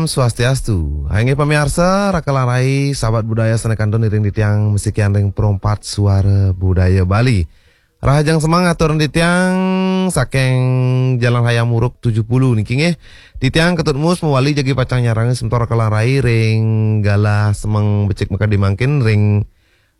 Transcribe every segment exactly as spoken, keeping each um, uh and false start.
Swastiastu. Inggih pamiarsa, raka lan rai, sahabat budaya sané kantun iring titiang masikian ring Perempat Suara Budaya Bali. Rahajeng semeng atur titiang saking Jalan Hayam Wuruk tujuh puluh niki nggih. Titiang Ketut Mus mawali jagi pacang nyarengin semeton raka lan rai ring galah semeng becik makadi mangkin ring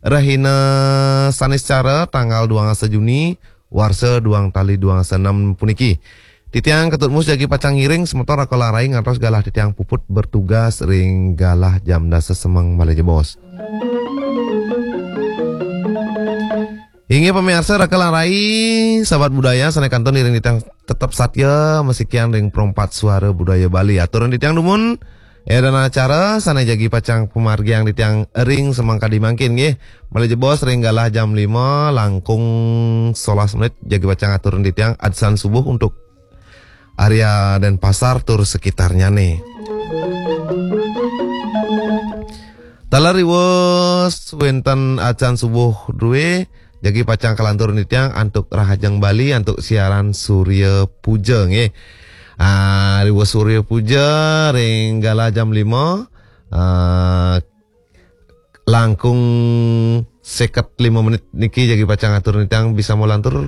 rahina Saniscara tanggal dua belas Juni warsa dua tali dua enam puniki. Titiang Ketut Mus jagi pacang ngiring semeton raka lan rai ngantos galah titiang puput bertugas ring galah jam dasa semeng malih jebos. Inggih pamiarsa raka lan rai, sahabat budaya sané kantun iring titiang tetep satia masikian ring Perempat Suara Budaya Bali. Aturang titiang dumun, édan acara sané jagi pacang pamargiang titiang ring semeng kadi mangkin nggih. Malih jebos ring galah jam lima langkung solas menit jagi pacang aturang titiang adzan subuh untuk area Denpasar tur sekitarnyané. Taler riwus wénten adzan subuh drué, jagi pacang kalantur titiang antuk Rahajeng Bali antuk siaran Surya Puja nggih. Ah, riwus Surya Puja ring galah jam lima, ah, langkung seket lima menit niki jagi pacang atur titiang bisa malantur,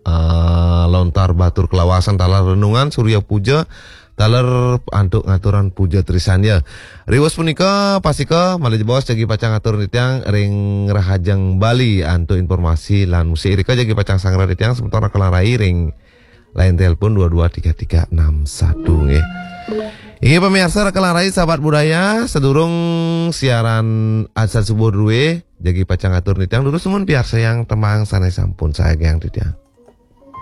ah, lontar batur kalawasan taler renungan Surya Puja, taler antuk ngaturan puja trisandya. Riwus punika pastika malih jebos jagi pacang atur titiang ring Rahajeng Bali antuk informasi lan musik irika jagi pacang sangra titiang semeton raka lan rai ring line telepon dua dua tiga tiga enam satu nggih. Inggih pamiarsa raka lan rai sahabat budaya, sadurung siaran adzan subuh drué jagi pacang atur titiang durus nunas piarsayang tembang sané sampun sagiang titiang.